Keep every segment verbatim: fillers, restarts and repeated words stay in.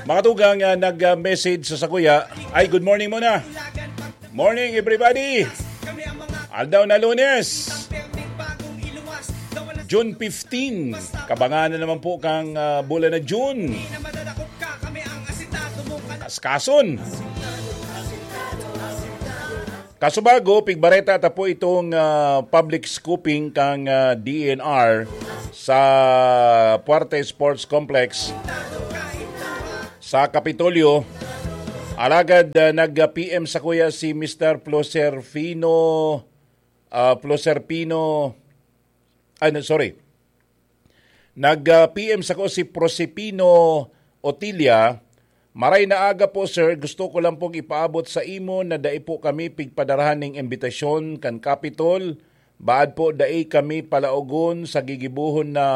Mga tugang, ah, nag-message sa sakuya. Ay, good morning muna. Morning, everybody. Aldaw na Lunes, June fifteen. Kabangan na naman po kang, ah, bulan na June. Kaskason. Kaso bago, pigbareta ta po itong, ah, public scooping kang, ah, D N R sa Puarte Sports Complex sa Kapitolyo. Alagad, ah, nag-P M sakuya si Mister Proserpino, ah, Proserpino, ano, sorry. Nag-P M sako si Prosipino Otilia, "Maray na aga po, sir. Gusto ko lang pong ipaabot sa imo na dai po kami pigpadarahan ning imbitasyon kan Capitol. Baad po, dai kami palaogon sa gigibohon na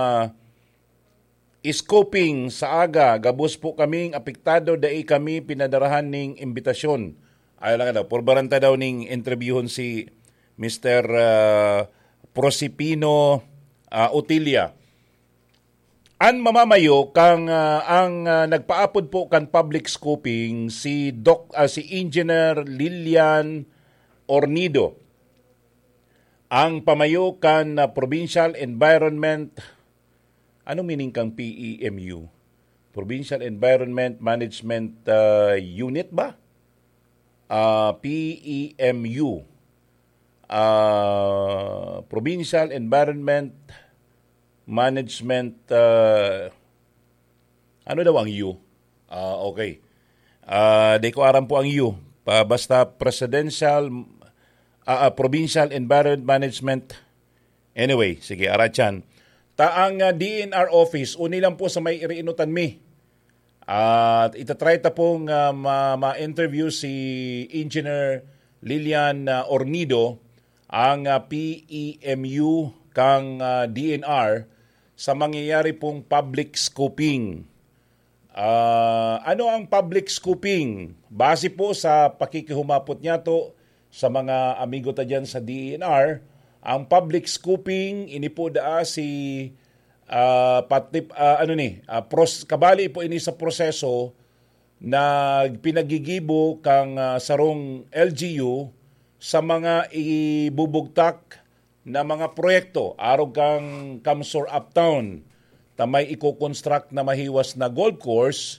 scooping sa aga. Gabos po kaming apektado, dai kami pinadarahan ning imbitasyon." Ay lang daw, purbaran ta daw ning interviewon si Mister, ah, Prosipino, ah, Otilia. An mamamayo kang, ah, ang, ah, nagpaapod po kan public scooping si Doc, ah, si Engineer Lilian Ornido. Ang pamayo kan, ah, Provincial Environment, ano meaning kang P E M U? Provincial Environment Management, ah, Unit ba? Ah, P E M U. Ah, Provincial Environment Management, ah, ano daw ang U? Ah, okay. Ah, di ko aram po ang U. Pa, basta Presidential, ah, ah, Provincial Environment Management. Anyway, sige, aratyan. Ta ang, ah, D N R office, uni lang po sa may iriinutan mi. At itatry ta pong, ah, ma-, ma-interview si Engineer Lilian, ah, Ornido, ang, ah, P E M U kang, ah, D N R sa mangyayari pong public scooping. Ah, ano ang public scooping? Base po sa pakikihumapot niyato sa mga amigo ta diyan sa D E N R, ang public scooping, ini po daa si, ah, patip-, ah, ano ni, ah, pros-, kabali po ini sa proseso na pinagigibo kang, ah, sarong L G U sa mga ibubugtak na mga proyekto, arog kang Kamsor Uptown, ta may iko-construct na mahiwas na golf course.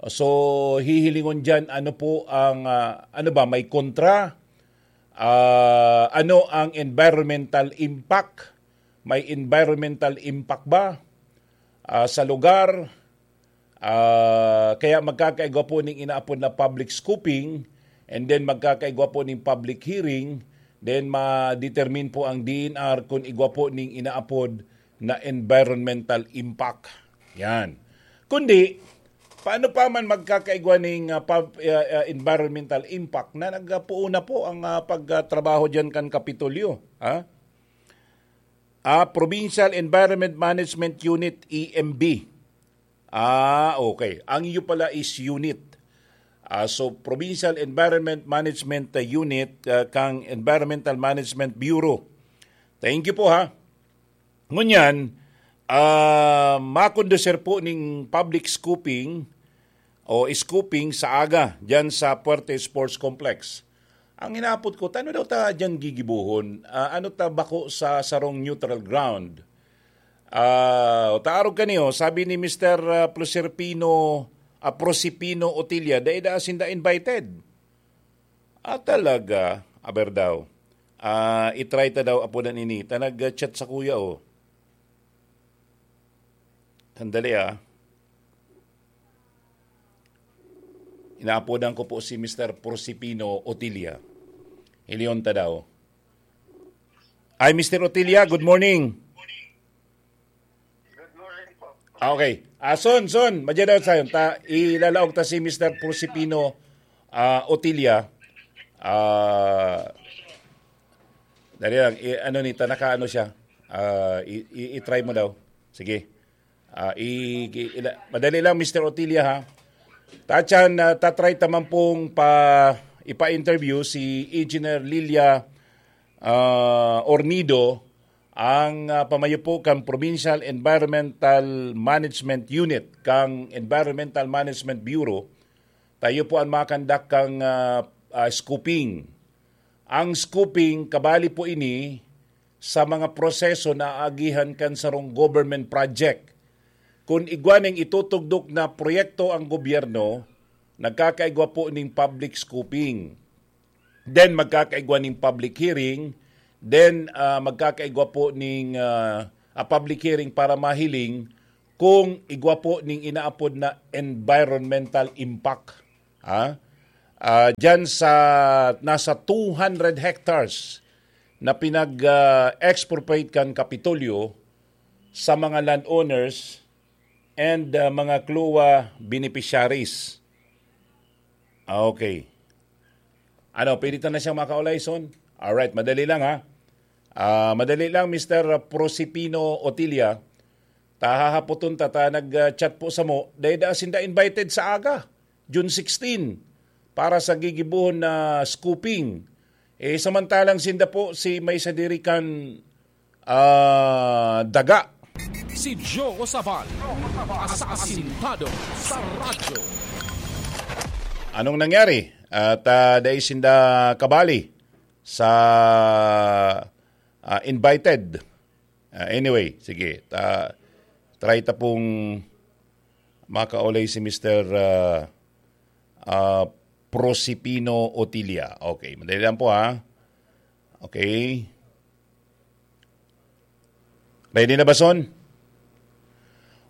So, hihilingon diyan, ano po ang, ah, ano ba, may kontra? Ah, ano ang environmental impact? May environmental impact ba, ah, sa lugar? Ah, kaya magkakaigwa po ning inaapod na public scooping, and then magkakaigwa po ning public hearing, then ma-determine po ang D N R kung igwa po ning inaapod na environmental impact. Yan. Kundi, paano pa man magkakaigwa ning, ah, pub-, ah, ah, environmental impact na nagpuon na po ang, ah, pagtrabaho diyan kan Kapitolyo, ha? Ah, Provincial Environment Management Unit, E M B. Ah, okay. Ang iyo pala is unit. Ah, so, Provincial Environment Management, ah, Unit, ah, kang Environmental Management Bureau. Thank you po, ha. Ngunyan, ah, makondusir po ning public scooping o scooping sa aga dyan sa Puerte Sports Complex. Ang hinapot ko, tano daw ta dyan gigibohon? Ah, ano ta bako sa sarong neutral ground? Ah, taarog kaniyo, sabi ni Mister, ah, Proserpino, ah, Prosipino Otilia, dai da sinda invited. Ah, talaga? Aber daw. Ah, i-try ta daw, apo na nini. Ta nag-chat sa kuya, oh. Sandali, ah. Inaapodan ko po si Mister Prosipino Otilia. Hilion ta daw. Ay, Mister Otilia, good morning. Ah, okay. Ah, son, son, madya daw sayon. Ta, ilalaog ta si Mister Prosipino, ah, Otilia. Ah, dali lang, i-, ano ni, ta, naka-ano siya. Ah, i-, i-, i-try mo daw. Sige. Ah, i-, i-, ila-, madali lang, Mister Otilia, ha. Tachan, ah, tatry ta man pong pa, ipa-interview si Engineer Lilia, ah, Ornido, Ang, ah, pamayo po kan Provincial Environmental Management Unit kan Environmental Management Bureau, tayo po ang makandak kang, ah, ah, scoping. Ang scoping, kabali po ini sa mga proseso na aagihan kan sarong government project. Kun igwa ning itutugdok na proyekto ang gobyerno, nagkakaigwa po ning public scoping. Then magkakaigwa ning public hearing, then, ah, magkakaigwa po ning, ah, ah, public hearing para mahiling kung igwa po ning inaapod na environmental impact. Ha? Ah, diyan sa nasa two hundred hectares na pinag, ah, expropriate kan Kapitolyo sa mga landowners and, ah, mga CLOA beneficiaries. Ah, okay. Ano, pwede ta na siyang makaulay, son? Alright, madali lang, ha? Ah, madali lang, Mister Prosipino Otilia. Tahahapoton ta, ta nag-chat po samo. Dahil da sinda invited sa aga, June sixteen, para sa gigibuhon na scoping. Eh, samantalang sinda po si may sadiri kan, ah, daga. Si Joe Sabal, asasintado sa radyo. Anong nangyari? At, ah, dai sinda kabali sa, ah, invited. Ah, anyway, sige. Ta-, try ta pong makaulay si Mister, ah, ah, Prosipino Otilia. Okay, madali lang po, ha. Okay. Ready na ba, son?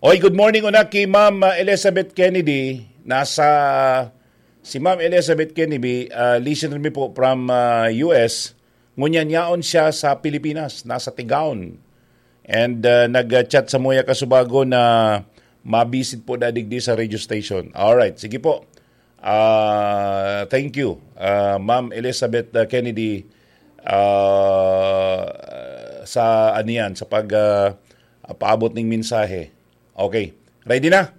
Oy, good morning una ki Ma'am, ah, Elizabeth Kennedy. Nasa, si Ma'am Elizabeth Kennedy, ah, listener mi po from, ah, U S. Ngunyan yaon siya sa Pilipinas, nasa Tigaon. And, ah, nag-chat samuya kasubago na mabisit po dadigdi sa radio station. Alright, sige po. Ah, thank you, ah, Ma'am Elizabeth, ah, Kennedy, ah, sa ano yan, sa pag, ah, paabot ning mensahe. Okay. Ready na?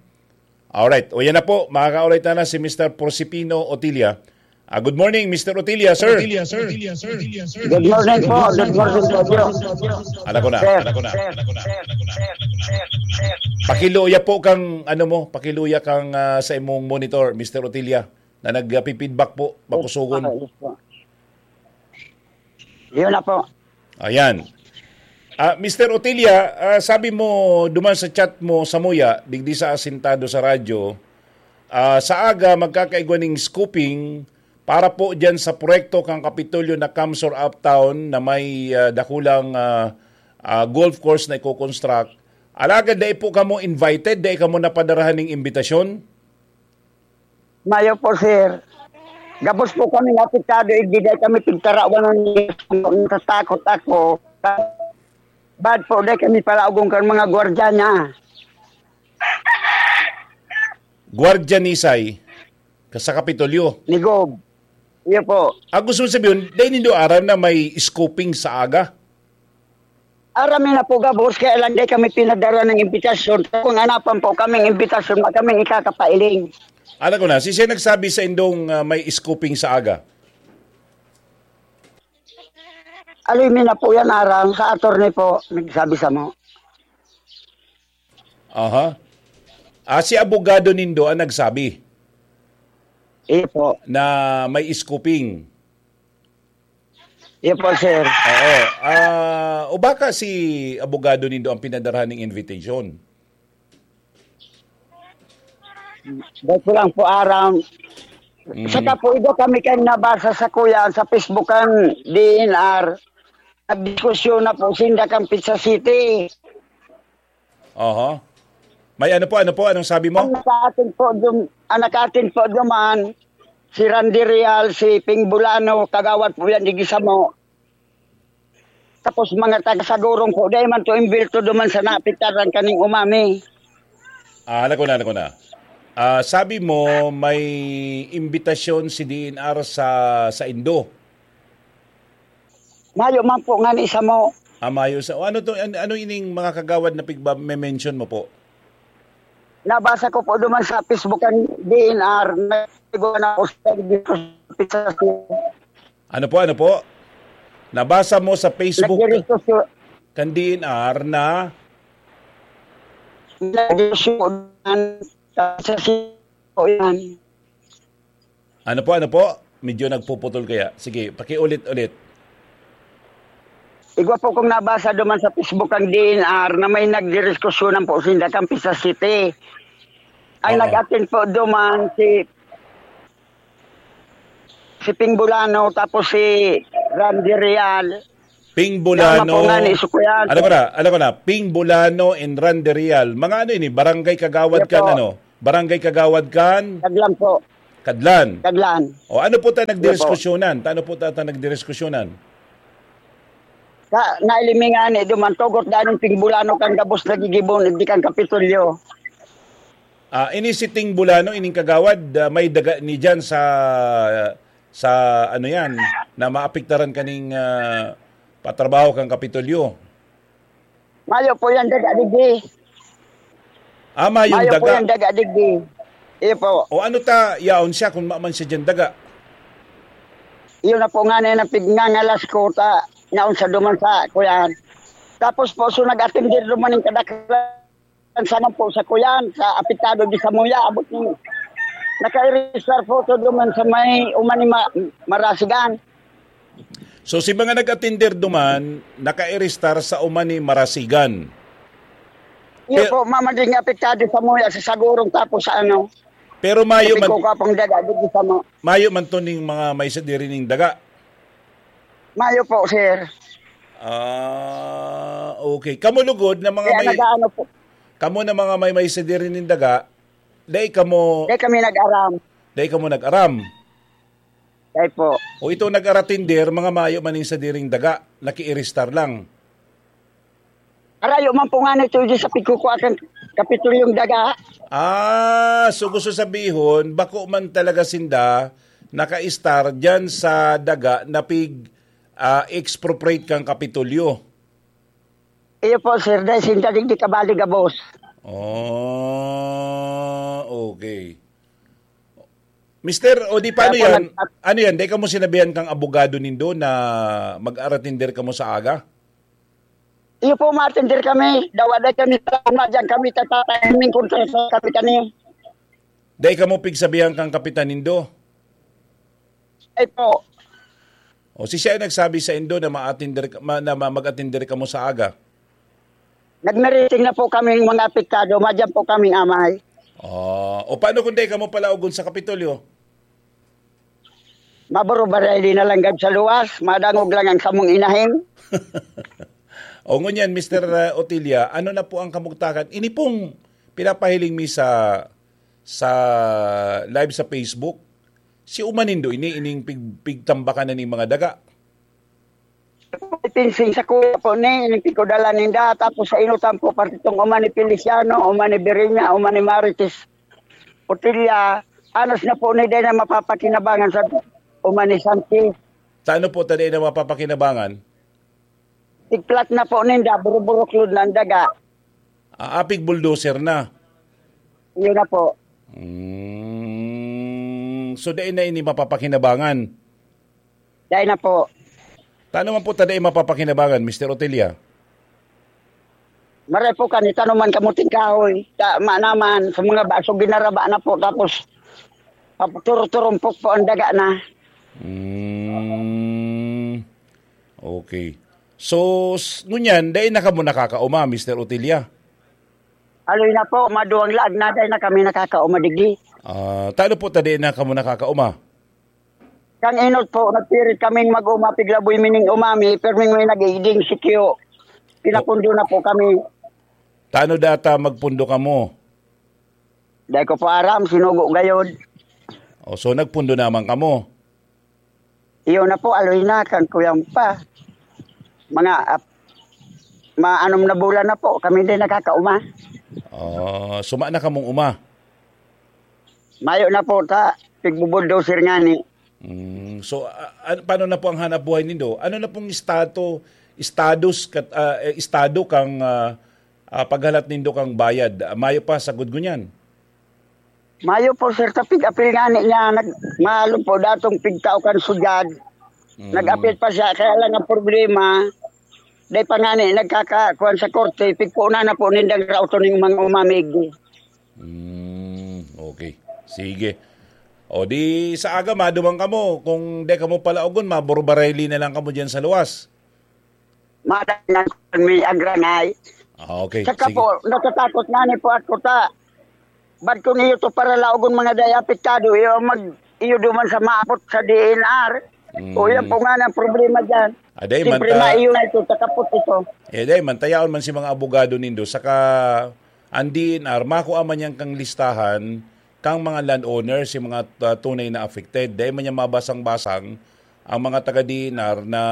Alright. O yan na po, makakaulay ta na si Mister Prosipino Otilia. Ah, good morning, Mister Otilia, sir. Good morning po. Good morning po, Joe. Ala ko na, Sir. ala ko na, ala ko na, ala ko na, ala ko na. Pakiluya po kang, ano mo, pakiluya kang, ah, sa imong monitor, Mister Otilia, na nagpi-feedback po, makusugon. Ah, yes po. Yun na po. Ayan. Ah, Mister Otilia, ah, sabi mo duman sa chat mo samuya, digdi sa asintado sa radyo, ah, sa aga magkakaigwa ning scoping para po diyan sa proyekto kang Kapitolyo na Kamsor Uptown na may, ah, dakulang, ah, ah, golf course na iko-construct. Alagad dai po kamo invited, dai kamo napadarahan ning imbitasyon? Mayo po, sir. Gabos po kami apektado, igdi dai kami pigtarawan ng natatakot ako. Bad po, dai kami palaugong kan mga gwardiya niya. Gwardiya ni Isay, ka sa Kapitolyo. Ni Gob. Iyo po. Ah, gusto mo sabihin, dai nindo aram na may scoping sa aga? Aram na po gabos, kaya lang dai kami pinadara ng imbitasyon. Kung anapan po kaming imbitasyon, ma kaming ikakapailing. Alam ko na, si siya nagsabi sa indong, ah, may scoping sa aga. Aloy mi na po yan, aram, sa attorney po, nagsabi sa mo. Aha. Ah, si abogado nindo ang nagsabi Iyo po. na may scoping. Iyo po, sir. Oo. Ah, o baka si abogado nindo ang pinadarahan ng invitation? Dahil ko lang po aram. Mhm. Sa kapuido kami kan nabasa sa kuya sa Facebook kan D N R. Nagdiskusyon na po sinda kan Pizza City. Aha. May ano po, ano po? Anong sabi mo? Ang naka-attend po dum, ang naka-attend po duman, si Randy Real, si Ping Bulano, kagawad po yan, digdi sa mo. Tapos mga taga Sagurong po, dai man to imbilto duman sa naapektaran kaning umami. Ah, alam ko na, alam ko na. Ah, sabi mo, may imbitasyon si D N R sa, sa Indo. Mayo man po nga ni sa mo. Ah, mayo sa, ano to, an-, ano ining mga kagawad na pigba-, may mention mo po? Nabasa ko po duman sa Facebook ang D N R, nagwa na po sa Pizza City. Ano po, ano po? Nabasa mo sa Facebook? Nagdiskusyon, kan D N R na Nagdesisyon sa sitio yan. Ano po, ano po? Medyo nagpuputol kaya. Sige, pakiulit-ulit. Igwa po kong nabasa duman sa Facebook ang D N R na may nagdidiskusyonan po sinda kan Pisa City. Ang Oo. nag-attend po duman si, si Ping Bulano, tapos si Randy Real. Ping Tama po Bulano. nga ni Sukuyan. Ano ko na? Ano ko na? Ping Bulano and Randy Real. Mga ano ini? Barangay Kagawad Yes kan po. ano? Barangay Kagawad kan Taglang po. Kadlan. Taglan. O ano po ta Yes po. nagdidiskusyonan? Ano po ta, ta nagdidiskusyonan? Sa nailimingan ni duman tugot daning Ping Bulano kan gabos nagigibon, di kan Kapitolyo. Ah, ini si Ting Bulano, ining kagawad, ah, may daga ni diyan sa, sa ano yan, na maapektaran kaning, ah, patrabaho kan Kapitolyo. Mayo po yan daga digdi. Ah, mayong Mayo po daga. yan daga digdi. Iyo po. O ano ta, yaon siya kung maman siya diyan daga? Iyo na po nga na yung pigngangalas ko ta, naon sa duman sa kuyan. Tapos po, so nag-atender duman yung kadaklan sa man po sa kuyan, sa apektado di sa Muya, abot ni naka-register po to duman sa may uman ni Ma-, Marasigan. So, si mga nag-atender duman, naka-arestar sa uman ni Marasigan. Iyo Pero po, mama, di nga apektado sa Muya, sa Sagurong, tapos sa ano, Pero mayo man, Pikuko pong daga, di sa mo. mayo man to ning mga may sadiri ning daga. Mayo po, sir. Ah, okay. Kamo lugod na mga Kaya may, nag-aano po. kamo na mga may, may sadiri ning daga, dai kamo, Di kami nag-aram. dai kamo nag-aram. Dai po. O itong nag-aratinder, mga mayo man ning sadiring daga, nakiiristar lang. Arayo man po nga nito di sa pagkukuha kan Kapitulyong daga. Ah, so gusto sabihon, bako man talaga sinda naka-istar diyan sa daga na pig, ah, expropriate kan Kapitolyo. Iyo po, sir, dahil sinda digdi kabali gabos. Oh, okay. Mister, o di paano Kaya po yan? nag- Ano yan? Dai kamo sinabihan kang abogado nindo na mag-aratinder kamo sa aga? Iyo po, matender kami. Dawa dai kami sa uma, diyan kami tatatay, kaming kontra sa kapitani. Dai kamo pigsabihan kang kapitan nindo? Ay po. O si siya ay nagsabi sa indo na ma-attender ka, ma-, na ma-, mag-attender kamo sa aga? Nagmeriting na po kaming mga apektado, madyan po kaming amay. Ah, o paano kung dai kamo palaogon sa Kapitolyo? Maburubaray di na lang gad sa luwas, madangog lang ang samong inahin. O ngunyan, Mister, uh, Otilia, ano na po ang kamugtakan? Ini pong pinapahiling mi sa, sa live sa Facebook, si uma nindo ini, ining pig-, pigtambakan na ning mga daga. Pinsing sa kuya po ni, ining pigkudala ninda, tapos sa inutan po, parte tong uma ni Feliciano, uma ni Birinya, uma ni Marites Otilia, anos na po ni dai na mapapakinabangan sa uma ni Santi. Sa ano po ta dai na mapapakinabangan? Tigplat na po ninda, buruburuklod na ang daga. Ah, apig bulldozer na. Yun na po. Mm, so, dai na ini mapapakinabangan? Dai na po. Tano man po ta dai mapapakinabangan, Mister Otilia? Maray po kan itanoman kamuting kahoy. Ta-, ma-, naman, sa mga baso, ginaraba na po. Tapos, pap-, turo-turumpok po ang daga na. Mm, okay. So, s-, ngunyan, dai na kamo nakakauma, Mister Otilia? Aloy na po, maduwang laag na, dai na kami nakakauma digdi. Ah, tano po ta dai na kamo nakakauma? Kan inot po, nagpirit kaming mag-uma, piglaboy mining umami, pirming may nag-iiding sikyo. Pinapundo na po kami. Tano data magpundo kamo? Dai ko po aram, sinugo gayod. O, so nagpundo naman kamo? Iyo na po, aloy na, kan kuyang pa. Mga, ap-, maanom na bulan na po, kami din nakakauma. Oh, suma na kamong uma? Mayo na po, ta, pigbubulldozer ngani. Mm, so, a-, a-, paano na po ang hanap buhay nindo? Ano na pong estado, estados kat-, ah, eh, estado kang, ah, ah, paghalat nindo kang bayad? Ah, mayo pa sa gud ngunyan? Mayo po, sir, ta pig-apil ngani niya, nag-, malong po datong pigtao kan sugad. Mm. Nag-apil pa siya, kaya lang ang problema, Dai pa ngani nagkakakuan sa korte, pigpunan na po nindang raoton ning mga umamig. Hmm, okay. Sige. O di sa aga, maduman kamo. Kung di kamo palaogon, maburbareli na lang kamo diyan sa luwas. Madangan may agranay. Ah, okay. Saka Sige. po, natatakot nga ni po ako ta. Bad kun iyo to para laogon mga dai apektado, iyo mag, iyo duman sa maabot sa D N R. Mm. O yan po nga ang problema dyan. Ah, dai man Siyempre, ta- maiyo na ito, takapot ito. Eh, dai man, tayaon man si mga abogado nindo. Saka, ang D N R, makua man yan kang listahan, kang mga landowners, yung mga, ah, tunay na affected. Dai man yan mabasang-basang ang mga taga D N R na,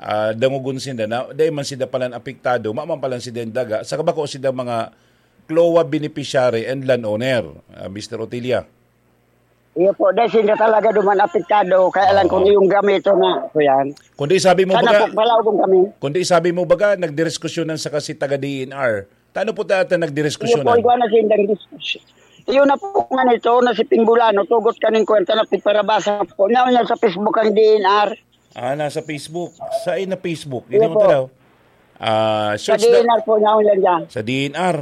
ah, dangogon sinda na, dai man sinda palan apektado, maman palan sinda daga, saka bako sinda mga CLOA beneficiary and landowner, ah, Mister Otilia. Iyo po, dahil sila talaga duman apektado, kaya lang Oo. kung yung gamito na, po yan. Kundi sabi mo Sana baga, po, palaogon kami. kundi sabi mo baga, nagdiriskusyonan sa kasi taga D N R. Tano po ta, ta Iyo po, nagdiriskusyonan? igwa na sindang diskusyon. Iyo na po nga nito, na si Pingbulano, tugot kaning kwenta na pigparabasa po. Nyaw niya sa Facebook ang D N R. Ah, nasa Facebook. Sa na Facebook? Iyo Hindi mo po. tanaw. Ah, Sa search na D N R po, nyaw niya dyan. sa D N R.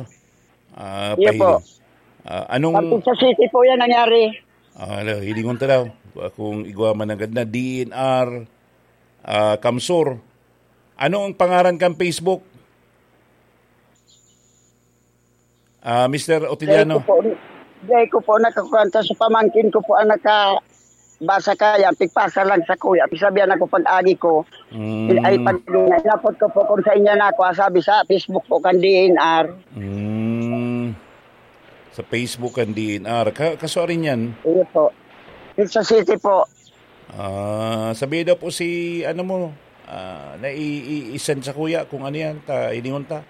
Ah, Iyo po. pahiling. Ah, anong Pati sa city po yan nangyari. Ah, hala, hilingon ta daw. Kung igwa man agad na D N R, ah, Kamsur. Ano ang pangaran kan Facebook? Ah, Mister Dai ko Otiliano? po, dai ko po nakakwenta sa pamangkin ko po ang nakabasa kaya, pigpasa lang sa kuya. Pigsabihan ako pag-agi ko, Mm. ay pag inapot ko po kung sa inyo na ako, sabi sa Facebook po kan D N R. Mm. Sa Facebook kan D N R. Ka, kaso arin yan? Iyo po. Yung sa city po. Ah, sabi daw po si, ano mo, ah, na i, i, i-send sa kuya kung ano yan, ta, iningon ta.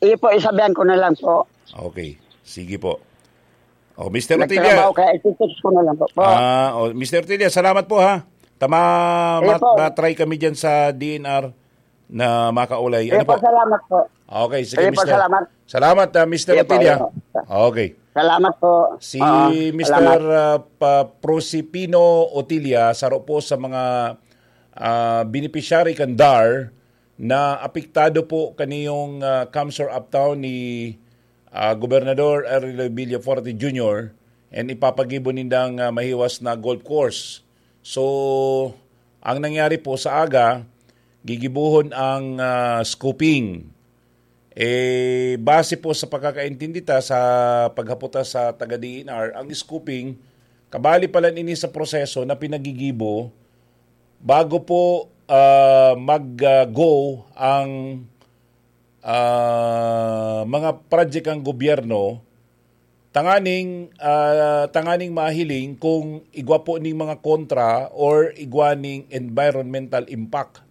Iyo po, isabihan ko na lang po. Okay. Sige po. Oh, Mister Otilia. Nagtrabaho kaya iti-text ko na lang po. Po. Ah, oh, Mister Otilia, salamat po ha. Tama, Sige mat-, po. matry kami dyan sa D N R na makaulay. Sige Ano po, po? salamat po. Okay, sige, Sige po, Mister. salamat. Salamat, ah, Mister Sige po, Otilia. sige po. Okay. Salamat po. Si Oo, Mister, salamat. ah, pa-, Prosipino Otilia, saro po sa mga, ah, beneficiary kan DAR na apektado po kaniyong, ah, Kamsur Uptown ni, ah, Gobernador Arnel Villafuerte Junior and ipapagibo nindang, ah, mahiwas na golf course. So, ang nangyari po sa aga, gigibohon ang, ah, scooping. Eh, base po sa pagkakaintindi ta sa paghapot ta sa taga D N R, ang scooping, kabali pala ini sa proseso na pinagigibo bago po, ah, mag, ah, go ang, ah, mga project ng gobyerno tanganing, ah, tanganing mahiling kung igwa po ning mga kontra or igwa ning environmental impact.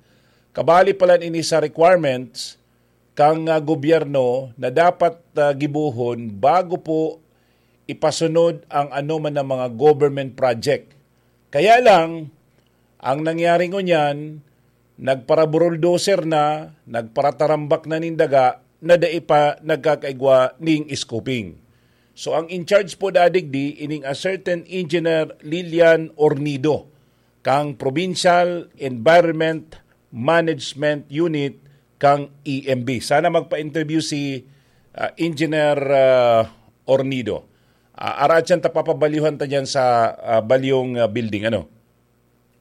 Kabali pala ini sa requirements kang, ah, gobyerno na dapat, ah, gibohon bago po ipasunod ang anoman na mga government project. Kaya lang, ang nangyari ngunyan, nagparaburuldoser na, nagparatarambak na nin daga na dai pa nagkakaigwa ning scooping. So, ang in charge po da digdi, ining a certain Engineer Lilian Ornido, kang Provincial Environment Management Unit kang E M B. Sana magpa-interview si, ah, Engineer, ah, Ornido. Ah, ara siyan ta papabalyuhan ta diyan sa, ah, balyong, ah, building, ano?